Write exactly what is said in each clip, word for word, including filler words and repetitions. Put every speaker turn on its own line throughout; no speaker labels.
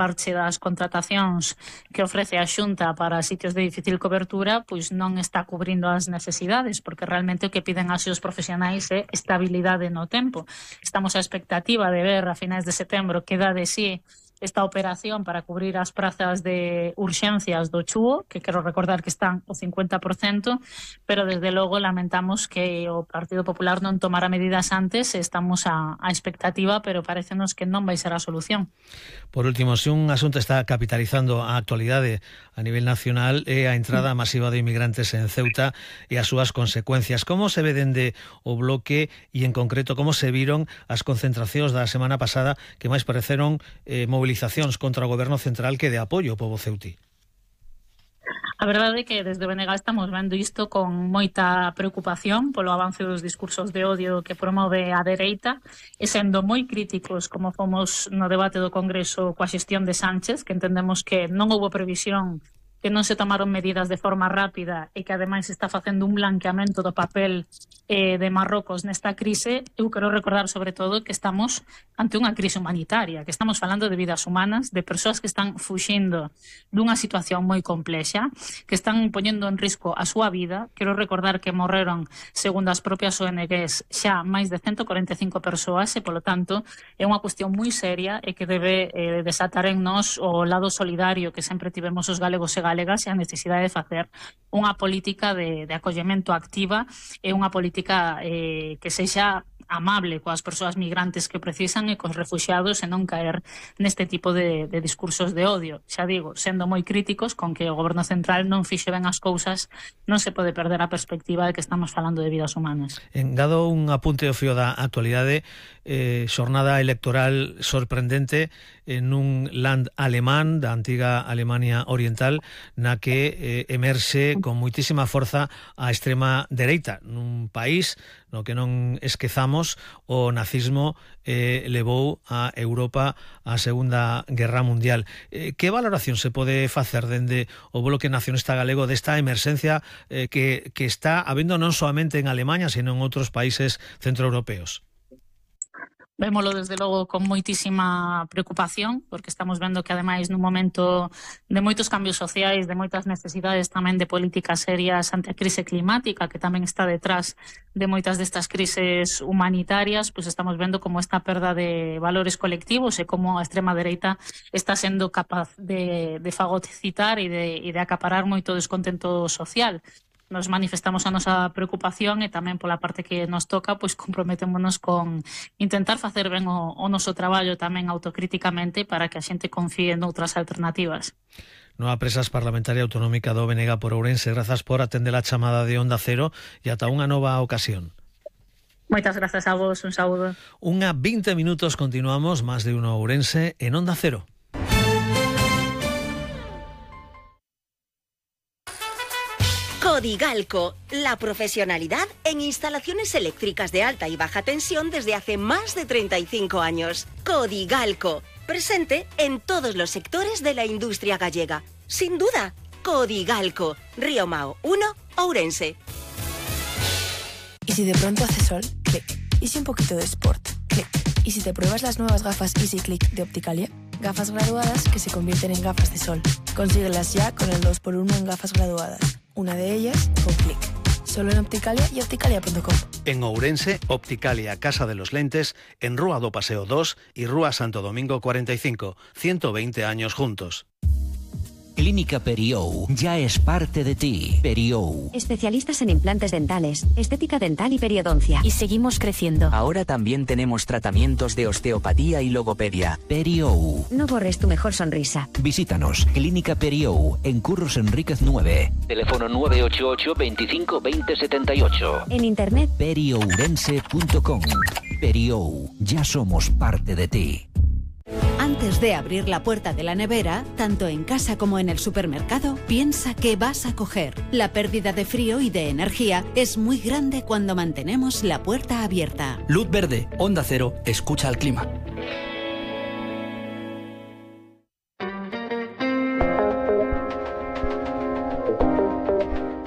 parche das contratacións que ofrece a Xunta para sitios de difícil cobertura, pois non está cubrindo as necesidades, porque realmente o que piden así os profesionais é estabilidade no tempo. Estamos á expectativa de ver a finais de setembro que dá de sí esta operación para cubrir as prazas de urxencias do Chúo, que quero recordar que están o cincuenta por cento, pero desde logo lamentamos que o Partido Popular non tomara medidas antes. Estamos á, á expectativa, pero parecenos que non vai ser a solución.
Por último, se un asunto está capitalizando a actualidade a nivel nacional é a entrada masiva de inmigrantes en Ceuta e as súas consecuencias. Como se ve dende o bloque e, en concreto, como se viron as concentracións da semana pasada que máis pareceron eh, movilizacións contra o goberno central que de apoio ao pobo ceutí?
A verdade é que desde o B N G estamos vendo isto con moita preocupación polo avance dos discursos de odio que promove a dereita e sendo moi críticos, como fomos no debate do Congreso coa xestión de Sánchez, que entendemos que non houbo previsión, que non se tomaron medidas de forma rápida e que ademais está facendo un blanqueamento do papel eh, de Marrocos nesta crise. Eu quero recordar sobre todo que estamos ante unha crise humanitaria, que estamos falando de vidas humanas, de persoas que están fuxindo dunha situación moi complexa, que están poñendo en risco a súa vida. Quero recordar que morreron, segundo as propias O N Gs, xa máis de ciento cuarenta e cinco persoas e, polo tanto, é unha cuestión moi seria e que debe eh, desatar en nós o lado solidario que sempre tivemos os galegos e galegas e a necesidade de facer unha política de, de acollemento activa e unha política eh, que sexa amable coas persoas migrantes que precisan e cos refuxiados e non caer neste tipo de, de discursos de odio. Xa digo, sendo moi críticos con que o goberno central non fixe ben as cousas, non se pode perder a perspectiva de que estamos falando de vidas humanas.
Engado un apunte ao fío da actualidade, eh, xornada electoral sorprendente en un land alemán da antiga Alemania Oriental na que eh, emerxe con moitísima forza a extrema dereita nun país no que non esquezamos o nazismo eh, levou a Europa á Segunda Guerra Mundial. Eh, que valoración se pode facer dende o Bloque Nacionalista Galego desta emerxencia eh, que, que está habendo non soamente en Alemania, sino en outros países centroeuropeos?
Vémolo desde logo con moitísima preocupación, porque estamos vendo que ademais nun momento de moitos cambios sociais, de moitas necesidades tamén de políticas serias ante a crise climática, que tamén está detrás de moitas destas crises humanitarias, pois estamos vendo como esta perda de valores colectivos e como a extrema dereita está sendo capaz de, de fagocitar e de, e de acaparar moito descontento social. Nos manifestamos a nosa preocupación e tamén pola parte que nos toca, pois comprometémonos con intentar facer ben o, o noso traballo tamén autocríticamente para que a xente confíe noutras alternativas.
Nova Presas Parlamentaria Autonómica do B N G por Ourense, grazas por atender a chamada de Onda Cero e ata unha nova ocasión.
Moitas grazas a vos, un saúdo.
Unha vinte minutos, continuamos, máis de uno Ourense en Onda Cero.
Codigalco, la profesionalidad en instalaciones eléctricas de alta y baja tensión desde hace más de treinta y cinco años. Codigalco, presente en todos los sectores de la industria gallega. Sin duda, Codigalco, Río Mao uno, Ourense.
¿Y si de pronto hace sol? Clic. ¿Y si un poquito de sport? Clic. ¿Y si te pruebas las nuevas gafas Easy Click de Opticalia? Gafas graduadas que se convierten en gafas de sol. Consíguelas ya con el dos por uno en gafas graduadas. Una de ellas con Clic. Solo en Opticalia y opticalia punto com.
En Ourense, Opticalia Casa de los Lentes, en Rúa do Paseo dos y Rúa Santo Domingo cuarenta y cinco. ciento veinte años juntos.
Clínica Periou ya es parte de ti. Periou.
Especialistas en implantes dentales, estética dental y periodoncia. Y seguimos creciendo.
Ahora también tenemos tratamientos de osteopatía y logopedia. Periou.
No borres tu mejor sonrisa.
Visítanos. Clínica Periou, en Curros Enríquez nueve. Teléfono nueve ocho ocho, veinticinco, veinte, setenta y ocho.
En internet.
periourense punto com. Periou. Ya somos parte de ti.
Antes de abrir la puerta de la nevera, tanto en casa como en el supermercado, piensa qué vas a coger. La pérdida de frío y de energía es muy grande cuando mantenemos la puerta abierta.
Luz verde, Onda Cero, escucha al clima.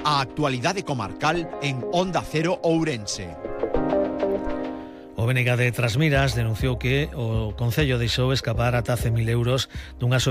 A actualidade comarcal en Onda Cero Ourense.
O B N G de Trasmiras denunciou que o Concello deixou escapar ata cen mil euros dunha